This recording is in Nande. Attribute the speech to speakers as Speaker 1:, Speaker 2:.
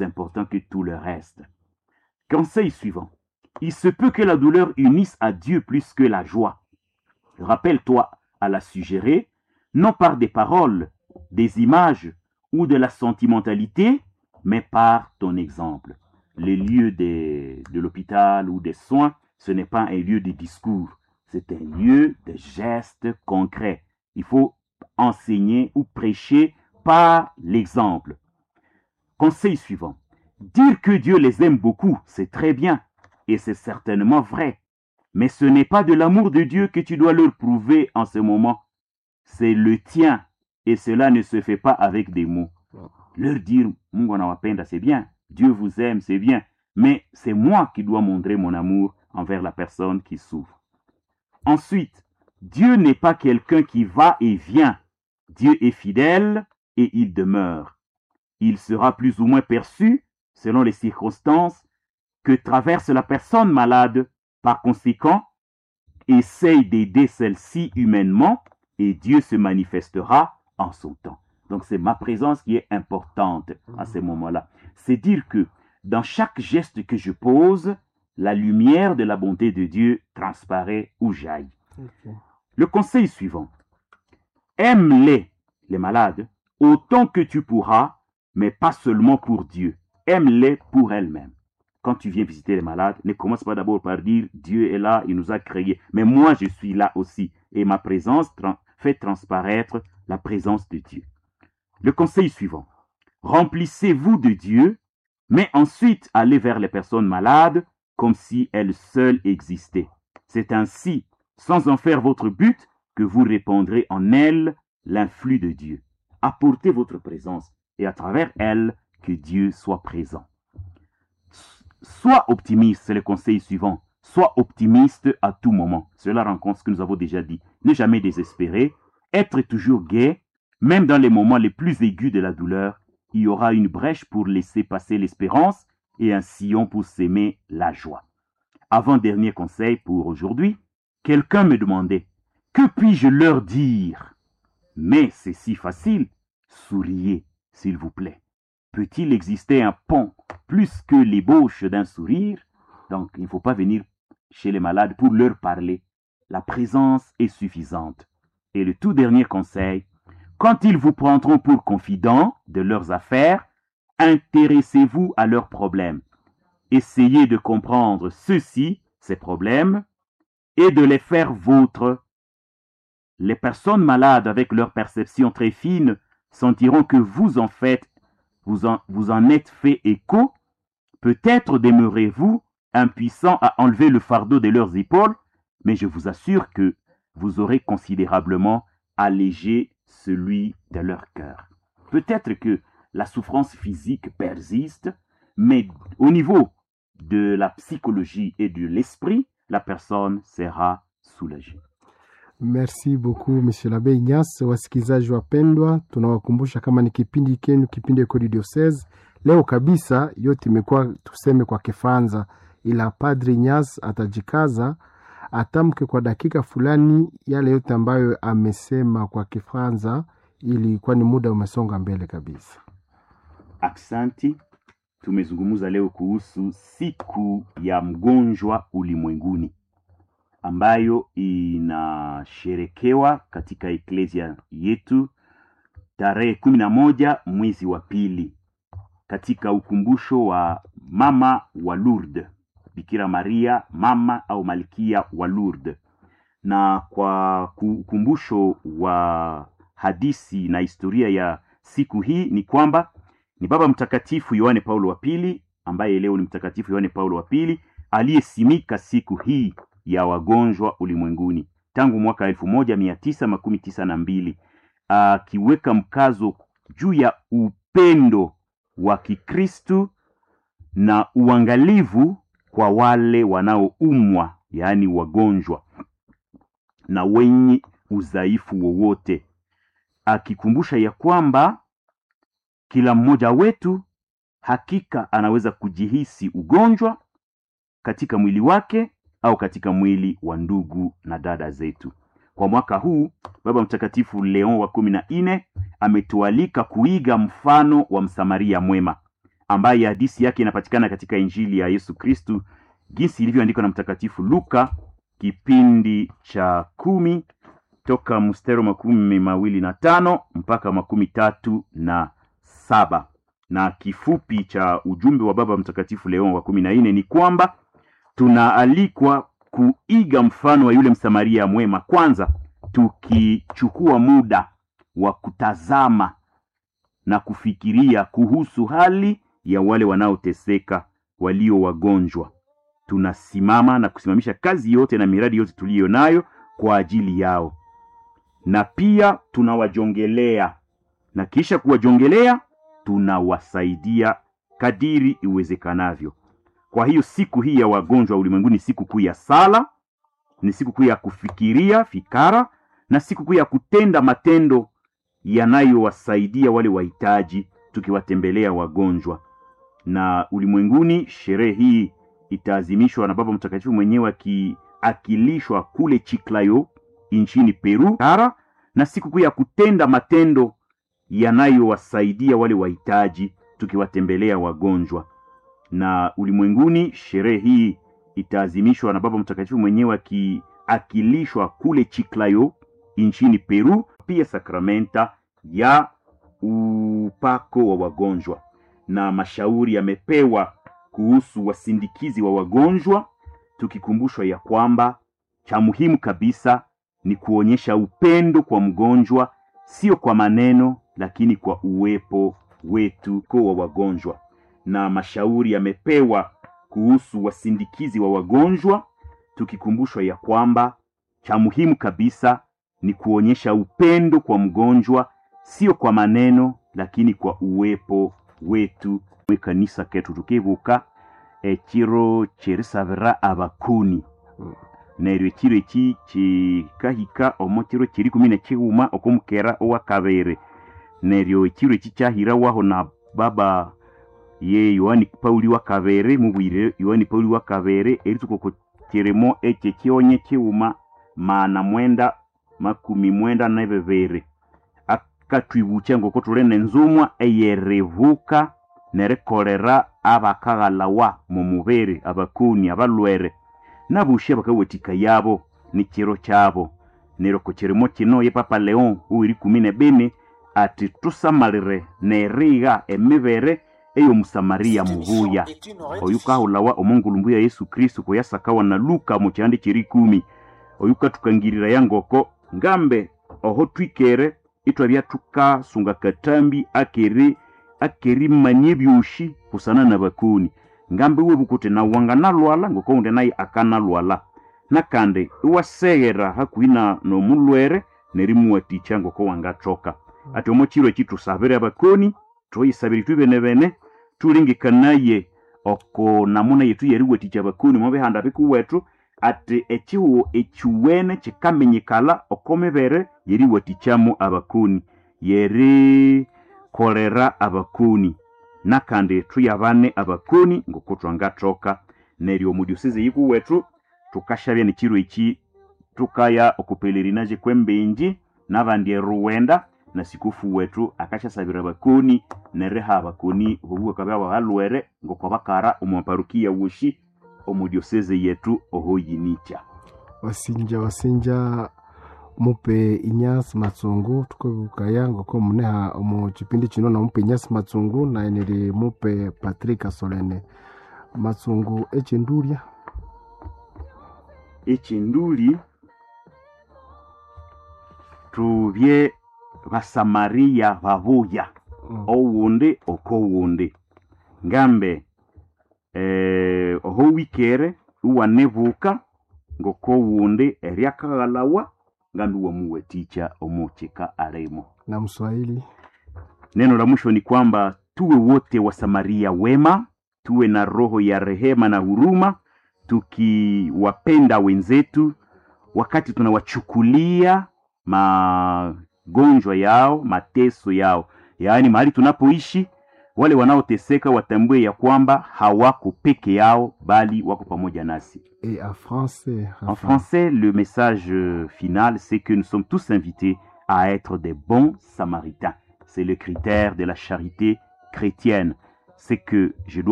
Speaker 1: Important que tout le reste. Conseil suivant. Il se peut que la douleur unisse à Dieu plus que la joie. Rappelle-toi à la suggérer, non par des paroles, des images ou de la sentimentalité, mais par ton exemple. Les lieux de l'hôpital ou des soins, ce n'est pas un lieu de discours, c'est un lieu de gestes concrets. Il faut enseigner ou prêcher par l'exemple. Conseil suivant. Dire que Dieu les aime beaucoup, c'est très bien, et c'est certainement vrai. Mais ce n'est pas de l'amour de Dieu que tu dois leur prouver en ce moment. C'est le tien, et cela ne se fait pas avec des mots. Leur dire Mungu anawapenda, c'est bien. Dieu vous aime, c'est bien. Mais c'est moi qui dois montrer mon amour envers la personne qui souffre. Ensuite, Dieu n'est pas quelqu'un qui va et vient. Dieu est fidèle et il demeure. Il sera plus ou moins perçu selon les circonstances que traverse la personne malade. Par conséquent, essaye d'aider celle-ci humainement et Dieu se manifestera en son temps. Donc c'est ma présence qui est importante à ce moment-là. C'est dire que dans chaque geste que je pose, la lumière de la bonté de Dieu transparaît ou jaillit.
Speaker 2: Ok.
Speaker 1: Le conseil suivant. Aime-les, les malades, autant que tu pourras, mais pas seulement pour Dieu. Aime-les pour elles-mêmes. Quand tu viens visiter les malades, ne commence pas d'abord par dire Dieu est là, il nous a créés. Mais moi, je suis là aussi. Et ma présence fait transparaître la présence de Dieu. Le conseil suivant. Remplissez-vous de Dieu, mais ensuite allez vers les personnes malades comme si elles seules existaient. C'est ainsi, sans en faire votre but, que vous répandrez en elles l'influx de Dieu. Apportez votre présence et à travers elle, que Dieu soit présent. Sois optimiste, c'est le conseil suivant. Sois optimiste à tout moment. Cela rencontre ce que nous avons déjà dit. Ne jamais désespérer, être toujours gai, même dans les moments les plus aigus de la douleur, il y aura une brèche pour laisser passer l'espérance et un sillon pour s'aimer la joie. Avant-dernier conseil pour aujourd'hui, quelqu'un me demandait, que puis-je leur dire? Mais c'est si facile, souriez, s'il vous plaît. Peut-il exister un pont plus que l'ébauche d'un sourire? Donc, il ne faut pas venir chez les malades pour leur parler. La présence est suffisante. Et le tout dernier conseil, quand ils vous prendront pour confident de leurs affaires, intéressez-vous à leurs problèmes. Essayez de comprendre ceux-ci, ces problèmes, et de les faire vôtres. Les personnes malades avec leur perception très fine sentiront que vous en faites, vous en êtes fait écho. Peut-être demeurez-vous impuissant à enlever le fardeau de leurs épaules, mais je vous assure que vous aurez considérablement allégé celui de leur cœur. Peut-être que la souffrance physique persiste, mais au niveau de la psychologie et de l'esprit, la personne sera soulagée.
Speaker 2: Merci beaucoup Monsieur l'Abbé Ignace. Wasikilizaji wapendwa, tunawakumbusha kama ni kipindi kenu, kipindi Ecole du Diocese. Leo kabisa yote imekuwa tuseme kwa Kifaransa, ila Padri Ignace atajikaza atamke kwa dakika fulani yale yote ambayo amesema kwa Kifaransa, ili kwani muda umesonga mbele kabisa.
Speaker 1: Aksanti. Tumezungumza leo kuhusu siku ya mgonjwa ulimwenguni ambayo inasherekewa katika eklesia yetu tarehe 11 mwezi wa pili katika ukumbusho wa mama wa Lourdes, Bikira Maria mama au malkia wa Lourdes, na kwa ukumbusho wa hadisi na historia ya siku hii ni kwamba ni Baba Mtakatifu Yohane Paulo wa Pili, ambaye leo ni Mtakatifu Yohane Paulo wa Pili, aliyesimika siku hii ya wagonjwa ulimwenguni tangu mwaka 1992 akiweka mkazo juu ya upendo wa Kikristu na uangalivu kwa wale wanaoumwa, yaani wagonjwa na wenye udhaifu wowote, akikumbusha ya kwamba kila mmoja wetu hakika anaweza kujihisi ugonjwa katika mwili wake au katika mwili wa ndugu na dada zetu. Kwa mwaka huu Baba Mtakatifu Leon wa 14 ametualika kuiga mfano wa Msamaria mwema. ambaye hadisi yake inapatikana katika Injili ya Yesu Kristu jinsi ilivyoandikwa na Mtakatifu Luka kipindi cha 10 toka mstari 25 mpaka 37. Na kifupi cha ujumbe wa Baba Mtakatifu Leo wa 14 ni kwamba tunaalikwa kuiga mfano wa yule Msamaria mwema, kwanza tukichukua muda wa kutazama na kufikiria kuhusu hali ya wale wanaoteseka, walio wagonjwa. Tunasimama na kusimamisha kazi yote na miradi yote tuliyo nayo kwa ajili yao, na pia tunawajongelea, na kisha kuwajongelea tunawasaidia kadiri iwezekanavyo. Kwa hiyo siku hii ya wagonjwa ulimwenguni, siku kuu ya sala, ni siku kuu ya kufikiria fikara, na siku kuu ya kutenda matendo yanayowasaidia wale wahitaji, tukiwatembelea wagonjwa. Na ulimwenguni sherehe hii itaazimishwa na Baba Mtakatifu mwenyewe akiakilishwa kule Chiclayo nchini Peru kara, na siku kuu ya kutenda matendo yanayowasaidia wale wahitaji, tukiwatembelea wagonjwa. Na ulimwenguni sherehe hii itaazimishwa na Baba Mtakatifu mwenyewe akiakilishwa kule Chiclayo nchini Peru, pia sakramenta ya upako wa wagonjwa. Na mashauri yamepewa kuhusu wasindikizi wa wagonjwa, tukikumbushwa ya kwamba cha muhimu kabisa ni kuonyesha upendo kwa mgonjwa, sio kwa maneno, lakini kwa uwepo wetu kwa wagonjwa. Na mashauri yamepewa kuhusu wasindikizi wa wagonjwa, tukikumbushwa ya kwamba cha muhimu kabisa ni kuonyesha upendo kwa mgonjwa, sio kwa maneno, lakini kwa uwepo wetu. Kanisa ketu tukibuka ekiro kyerisabira abakoni, neryo ekiro eki kikahika omo kiro kiri 11 okwomukera owakabiri. Neryo ekiro eki kyahirawaho na baba ye Yohani Pauli wa kabiri, mubwire Yohani Pauli wa kabiri eritsuka oko kirimo ekye kyonye kighuma 992 akatwibukya ngoko thuli nenzumwa eyeribuka nerikolera abakaghalawa mumubiri, abakoni, abalwere nabushi abakawathika yabo nikiro kyabo. Neryo oko kirimo kino ye Papa Leon oweri 14 ati tusamalire nerigha emibere ey'omusamaria mubuya oyu kahulawa omongulumbu ya Yesu Kristu kuyasakawa na Luka mu kyandi kyeri 10. Oyu kathukangirira ngoko ngambe oho twikere ithwabya thukasunga katambi akeri akerimanya ebyoshi busana nabakoni, ngambe iwebuka uthi nawu wanganalwala ngoko undi naye akanalwala, nakandi iwaseghera hakuhi nomulwere nerimuwathikya ngoko wangathoka. Ati omo kiro eki thusabire abakoni, thuyisabire ithwe benebene, thulengekanaye oko namuna yethu yeriwathikya abakoni omo bihanda bikuwethu, ati ekihugho ekyuwene kyikaminyikala oko mibere yeriwathikyamu abakoni, yerikolera abakoni, nakandi thuyabane abakoni ngoko thwangathoka. Neryo omu diocese yikuwethu thukashabya nekiro eki thukaya oko pelerinage kwembenji nabandi eruwenda, na sikufu wethu akasyasabira abakoni neriha abakoni obubuka byabo abalwere ngoko bakara omu parokia woshi omu diocese yetu ohoyinikya.
Speaker 2: Wasinja wasinja mupe Inyasi Matsungu tukabukaya ngoko muneha omu kipindi kino na mupe Inyasi Matsungu naye niri mupe Patrick Asolene Matsungu ekyendulya.
Speaker 1: Ekyenduli tubye basamaria babuya owundi okowundi, ngambe oho wikere iwanebuka ngokowundi eryakaghalawa ngambe iwamuwathikya omukyika alimo.
Speaker 2: Na Mswahili
Speaker 1: neno la mwisho ni kwamba tuwe wote wasamaria wema, tuwe na roho ya rehema na huruma, tukiwapenda wenzetu wakati tunawachukulia magonjwa yao, mateso yao, yaani mahali tunapoishi, wale wanaoteseka watambue ya kwamba hawako peke yao, bali wako pamoja nasi.
Speaker 2: Et en français,
Speaker 1: En français, le message final, c'est que nous sommes tous invités à être des bons samaritains. C'est le critère de la charité chrétienne. Ce que je dois